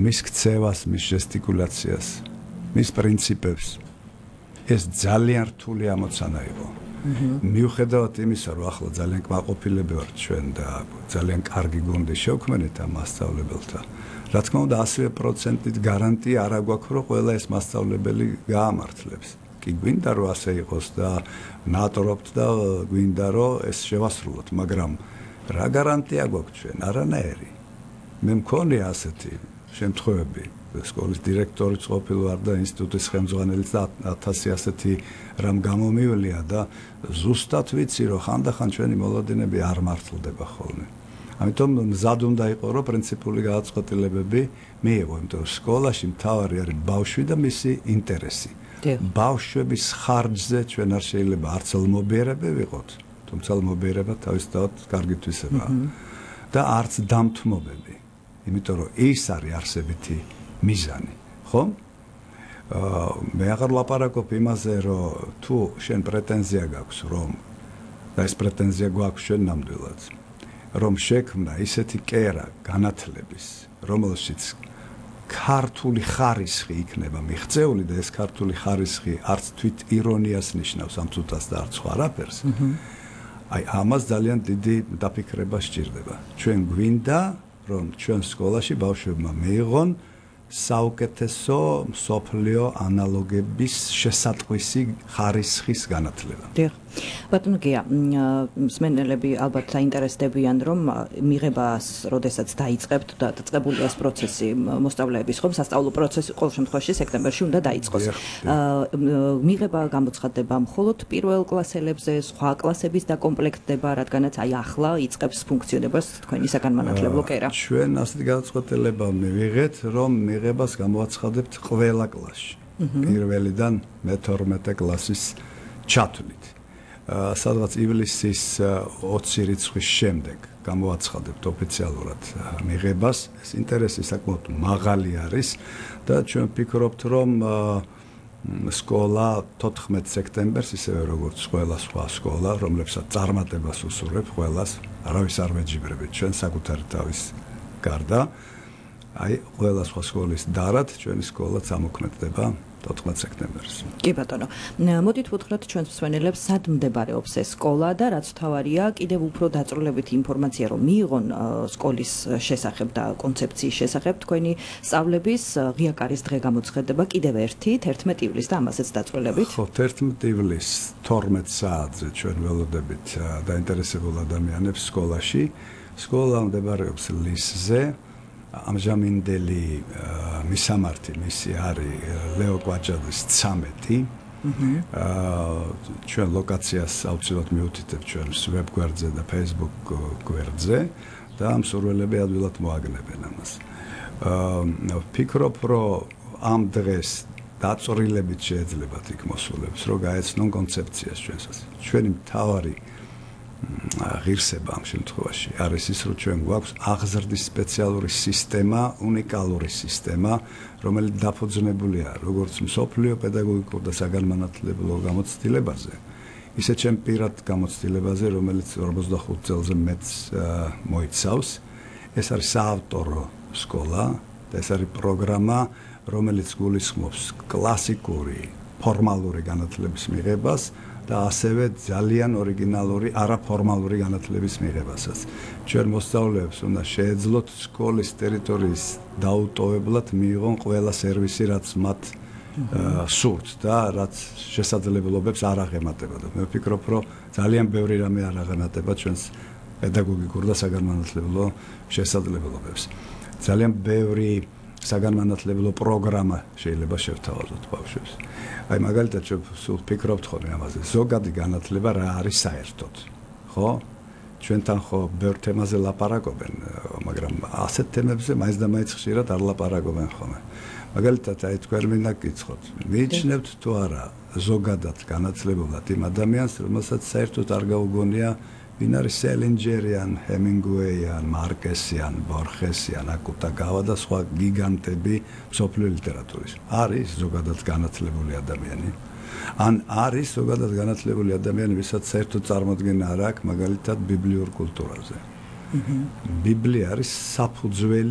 მის ქცევას, მის ჟესტიკულაციას, მის პრინციპებს ეს ძალიან რთული ამოცანა იყო. მიუხედავად იმისა, რომ ახლა ძალიან კმაყოფილები ვართ ჩვენ და ძალიან კარგი გუნდი შევქმნით ამ მასწავლებელთა. რა თქმა უნდა, 100%-ით გარანტია არ აგვაქვს, რომ ყველა ეს მასწავლებელი გაამართლებს. კი გვინდა რომ ასე იყოს და ნატრობთ და გვინდა რომ ეს შევასრულოთ, მაგრამ რა გარანტია გვაქვს ჩვენ? არანაირი. მე მქონია ასეთი შემთხვევები. სკოლის დირექტორიც ყოფილი ვარ და ინსტიტუტის ხელმძღვანელიც და 1000 ასეთი რამ გამომივლია და ზუსტად ვიცი რომ ხანდახან ჩვენი მოლოდინები არ მართლდება ხოლმე. ამიტომ მზად უნდა იყო რომ პრინციპული გადაწყვეტილებები მიიღო, იმიტომ რომ სკოლაში მთავარი არის ბავშვი და მისი ინტერესი. ბავშვების ხარჯზე ჩვენ არ შეიძლება არც ლმობიერები ვიყოთ, თუმცა ლმობიერება თავისთავად კარგი თვისებაა და არც დამთმობები, იმიტომ რომ ის არის არსებითი მიზანი, ხო? მე აღარ ლაპარაკობ იმაზე, რომ თუ შენ პრეტენზია გაქვს, რომ და ეს პრეტენზია გვაქვს ჩვენ ნამდვილად, რომ შექმნა ისეთი კერა განათლების, რომელშიც ქართული ხარისხი იქნება მიღწეული და ეს ქართული ხარისხი არც თვით ირონიას ნიშნავს ამ თუთას და არც სხვა არაფერს. აი ამას ძალიან დიდი დაფიქრება სჭირდება. ჩვენ გვინდა, რომ ჩვენ სკოლაში ბავშვებმა მიიღონ საუკეთესო მსოფლიო ანალოგების შესატყვისი ხარისხის განათლება. ბატონო გია, მსმენელები ალბათ დაინტერესდებიან, რომ მიღებას როდესაც დაიწყებთ და დაწყებულია ეს პროცესი მოსწავლეების, ხო, სასწავლო პროცესი ყოველ შემთხვევაში სექტემბერში უნდა დაიწყოს. მიღება გამოცხადდება მხოლოდ პირველ კლასელებზე, სხვა კლასების დაკომპლექტდება, რადგანაც აი ახლა იწყებს ფუნქციონებას თქვენი საგანმანათლებლო კერა. ჩვენ ასეთი გადაწყვეტილება მივიღეთ, რომ მიღებას გამოაცხადებთ ყველა კლასში. პირველიდან მე-12 კლასის ჩათვლით. სადღაც ივლისის 20 რიცხვის შემდეგ გამოაცხადებთ ოფიციალურად მიღებას. ეს ინტერესი საკმაოდ მაღალი არის და ჩვენ ვფიქრობთ, რომ სკოლა 14 სექტემბერს, ისევე როგორც ყველა სხვა სკოლა, რომლებსაც წარმატებას უსურვებ ყველას, არავის არ ვეჯიბრებით ჩვენ საკუთარი თავის გარდა. აი, ყველა სხვა სკოლის დარად ჩვენი სკოლაც ამოქმედდება 14 სექტემბერს. კი ბატონო, მოდით ვუთხრათ ჩვენს მსმენელებს, სად მდებარეობს ეს სკოლა და რაც თავარია, კიდევ უფრო დაწვრილებითი ინფორმაცია რომ მიიღონ სკოლის შესახებ და კონცეფციის შესახებ თქვენი სწავლების ღია კარის დღე გამოცხადდება კიდევ 11 ივლისს და ამასაც დაწვრილებით. ხო, 11 ივლისს 12 საათზე ჩვენ ველოდებით დაინტერესებულ ადამიანებს სკოლაში. სკოლა მდებარეობს ლისზე. ამჟამინდელი მისამართი მისი არის ლეო კვაჭაძის 13. ჩვენ ლოკაციას აუცილებლად მივუთითებთ ჩვენს ვებგვერდზე და Facebook გვერდზე და მსურველები ადვილად მოაგნებენ ამას. ვფიქრობ, რომ ამ დღეს დაწვრილებით შეეძლებათ იქ მოსულებს, რომ გაეცნონ კონცეფციას ჩვენსაც. ჩვენი მთავარი ღირსება ამ შემთხვევაში არის ის, რომ ჩვენ გვაქვს აღზრდის სპეციალური სისტემა, უნიკალური სისტემა, რომელიც დაფუძნებულია როგორც მსოფლიო პედაგოგიკურ და საგანმანათლებლო გამოცდილებაზე, ისე ჩემ პირად გამოცდილებაზე, რომელიც 45 წელზე მეც მოიცავს. ეს არის საავტორო სკოლა და ეს არის პროგრამა, რომელიც გულისხმობს კლასიკური, ფორმალური განათლების მიღებას და ასევე ძალიან ორიგინალური არაფორმალური განათლების მიღებასაც. ჩვენ მოსწავლეებს უნდა შეეძლოთ სკოლის ტერიტორიის დაუტოვებლად მიიღონ ყველა სერვისი, რაც მათ სურთ და რაც შესაძლებლობებს არ აღემატებოდა. მე ვფიქრობ, რომ ძალიან ბევრი რამე არ აღემატება ჩვენს პედაგოგიკურ და საგანმანათლებლო შესაძლებლობებს. ძალიან ბევრი საგანმანათლებლო პროგრამა შეიძლება შევთავაზოთ ბავშვებს. აი მაგალითად სულ ვფიქრობთ ხოლმე ამაზე. ზოგადი განათლება რა არის საერთოდ, ხო? ჩვენთან ხო ბევრ თემაზე ლაპარაკობენ, მაგრამ ასეთ თემებზე მაინც და მაინც ხშირად არ ლაპარაკობენ ხოლმე. მაგალითად, აი თქვენ მინდა გკითხოთ, მიიჩნევთ თუ არა ზოგადად განათლებულად იმ ადამიანს, რომელსაც საერთოდ არ გაუგონია ვინ არის სელინჯერიან, ჰემინგუეიან, მარკესიან, ბორხესიან, აკუტაგავა და სხვა გიგანტები მსოფლიო ლიტერატურის. არის ზოგადად განათლებული ადამიანი. ან არის ზოგადად განათლებული ადამიანი, ვისაც საერთოდ წარმოდგენა არ აქვს მაგალითად ბიბლიურ კულტურაზე. ბიბლია არის საფუძველი